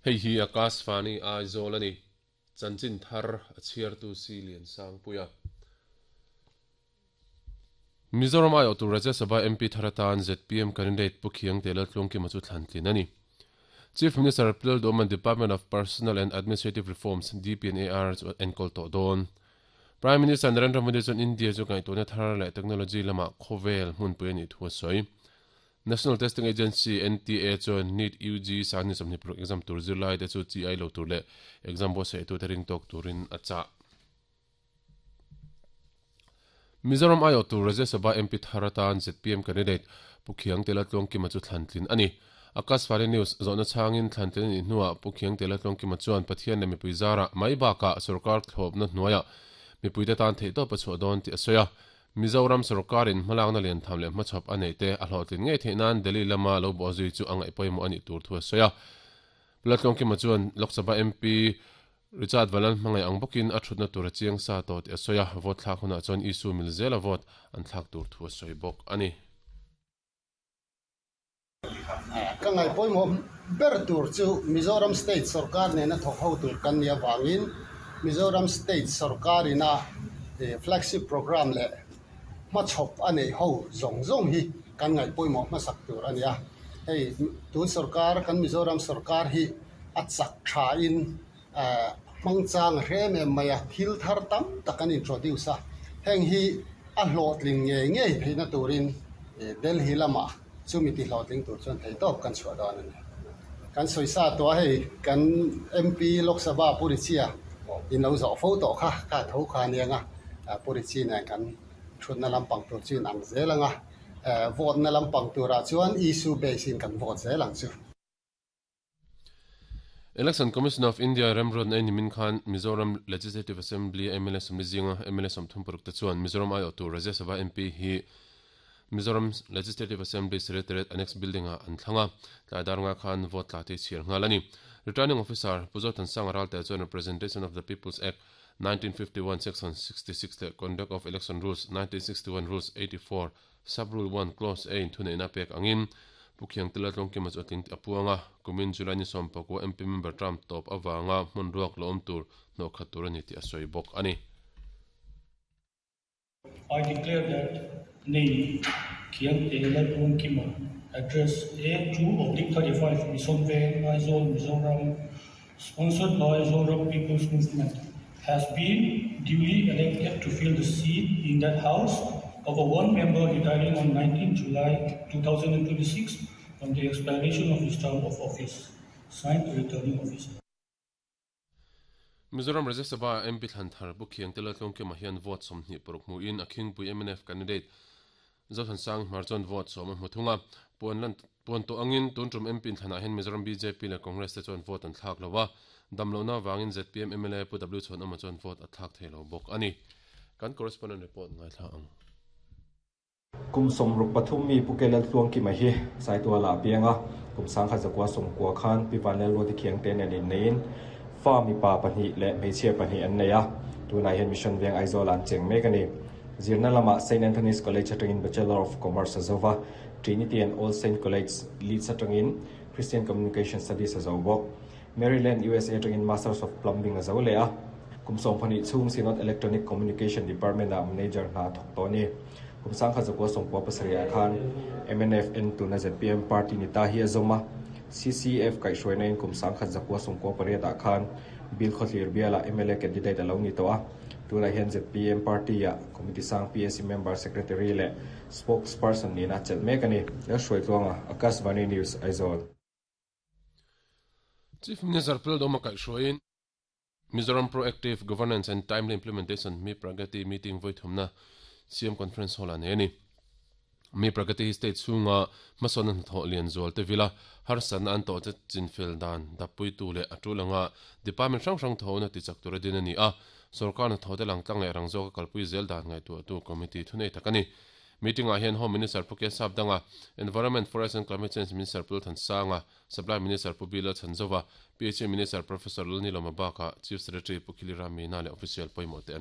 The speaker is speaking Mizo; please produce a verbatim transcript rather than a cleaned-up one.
Hei hi Akashvani Aizawl ani. Chanchin thar a chhiartu si lian sang puia. Mizoram ai awh tur Rajya Sabha M P tharatan Z P M candidate Pu Khiangte Laltlungkima chu thlan tlin ani. Chief Minister Pil Doman Department of Personnel and Administrative Reforms D P and A R chu enkawl tawh dawn. Prime Minister Narendra Modi chuan India chu ngaihtuahna thar leh technology lama khawvel hmunpui ani thu a sawi. National Testing Agency N T A chuan NEET U G sangni sawmhnih paruk exam tur zirlai te chu chi ai lo tur leh exam buatsaih tu te ring tawk turin a chah. Mizoram ai awh tur Rajya Sabha M P thar atan Z P M candidate Pu Khiangte Laltluangkima chu thlan tlin ani. Akashvani News zawhna changin thlan tlin anih hnuah Pu Khiangte Laltluangkima chuan Pathian leh mipui zarah mai bakah sarkar thlawpna hnuaiah mipui te tan theih tawp a chhuah dawn tih a sawi a. Mizoram sarkarin hmalakna lian tham leh hmachhawp a neih te a hlawhtlin ngei theih nan Delhi lama lo bawh zui chu a ngaih pawimawh anih tur thu a sawi a. Laltluangkima chuan Lok Sabha M P Richard Valan hmangaih ang bawkin a thutna tur a chiang sa tawh tih a sawi a. Vote thlak hunah chuan Isu mil zela vote an thlak tur thu a sawi bawk ani. Ka ngaih pawimawh ber tur chu Mizoram State sarkar nena thawk ho tur kan ni awangin Mizoram State sarkarina flagship program leh hmachhawp a nei ho zawng zawng hi kan ngaih pawimawh hmasak tur ani a. Hei tun sarkar kan Mizoram sarkar hi a chak tha in hmangchang hrem em mai a thil thar tam tak an introduce a. Heng hi a hlawhtling ngei ngei theihna turin Delhi lama chumi ti hlawhtling tur chuan thei tawp kan chhuah dawn ani. Kan sawi sa tua hei kan M P Lok Sabha Purichia in lo zawh fo tawh kha kha tho kha anianga Purichi nen kan thutna lampang tur chu in ang zel anga vote na lampang turah chuan issue base in kan vote zel ang chu. Election Commission of India remruat na nimin khan Mizoram Legislative Assembly M L A sawmli zinga M L A sawmthum paruk te chuan Mizoram ai awh tur Rajya Sabha M P hi Mizoram Legislative Assembly Secretariat Annex Building a an thlanga tlai dar nga khan vote tla te chhiar nghal ani. Returning Officer Puzo Thansang Ralte chuan Representation of the People's Act nineteen fifty-one section sixty-six le Conduct of Election Rules nineteen sixty-one Rules eighty-four sub rule one clause A in thuneihna pek angin Pu Khiangte Laltlungkima chu a tling a puanga kumin July ni sawm pakua M P member term tawp awanga hmun ruak lo awm tur hnawh khat tur ani tih a sawi bawk ani. I declare that name Khiangte Laltlungkima, address A two oblique thirty-five Mission Veng, Aizawl, Mizoram, sponsored by Zoram People's Movement, has been duly elected to fill the seat in that house of a one member retiring on nineteenth July two thousand twenty-six on the expiration of his term of office. Signed, Returning Officer. Mizoram Rajya Sabha M P Thlan Thar Pu Khiangte Laltlungkima hian vote sawmhnih paruk hmuin a Khingpui M N F candidate Zothansang Hmar chuan vote sawm a hmu thunga. Puan lan puan tawh angin tun tum M P thlanah hian Mizoram B J P leh Congress te chuan vote an thlak lo a. Damlohna wangin Z P M M L A Pu W chuan awma chuan vote a thlak thei lo bawk ani. Kan correspondent report ngai thla ang. Kum sawmruk pathum mi Pu Laltluangkima hi Saituala pianga kum sangkhat zakua sawmkua khan Pi Vanlal Ruati Khiangte nen innein fa mi pa pahnih leh hmeichhia pahnih an nei a. Tunah hian Mission Veng Aizawl an cheng mek ani. Zirna lama Saint Anthony's College atangin Bachelor of Commerce a zova, Trinity and All Saint College Leeds atangin Christian Communication Studies a zo bawk. Maryland U S A atangin Masters of Plumbing a zo le a. Kum sawm pahnih chhung Synod Electronic Communication Department a manager hna thawk tawh ni. Kum sangkhat zakua sawmkua pasarih ah khan M N F N tuna Z P M party ni ta hi a zawm a. C C F kaihhruaina in kum sangkhat zakua sawmkua pariat ah khan Bill Khawthlir biala M L A candidate a lo ni tawh a. Tunah hian Z P M party a committee sang P S C member secretary leh spokesperson nina chelh mek ani. Lalhruaitluanga, Akashvani News, Aizawl. Chief Minister Pil Doma kaihhruaiin Mizoram Proactive Governance and Timely Implementation Mi Pragati meeting voi thumna C M Conference Hall a nei ani. Mi Pragati state chhunga hmasawn an hnathawh lian zual te vila harsatna an tawh che chinfel dan dappui tu leh a tulanga department hrang hrang thawhna ti chak tur a din ani a. Sarkar hnathawh te lang tlang leh rang zawk a kalpui zel dan ngaihtuah tu committee thunei tak ani. Meeting ah hian Home Minister Pu K Sap Danga, Environment, Forest and Climate Change Minister Pu Thansanga, Supply Minister Pu Bila Chanzova, P H A Minister Professor Lalni Loma Baka, Chief Secretary Pu Khilira Meena leh official pawimawh te an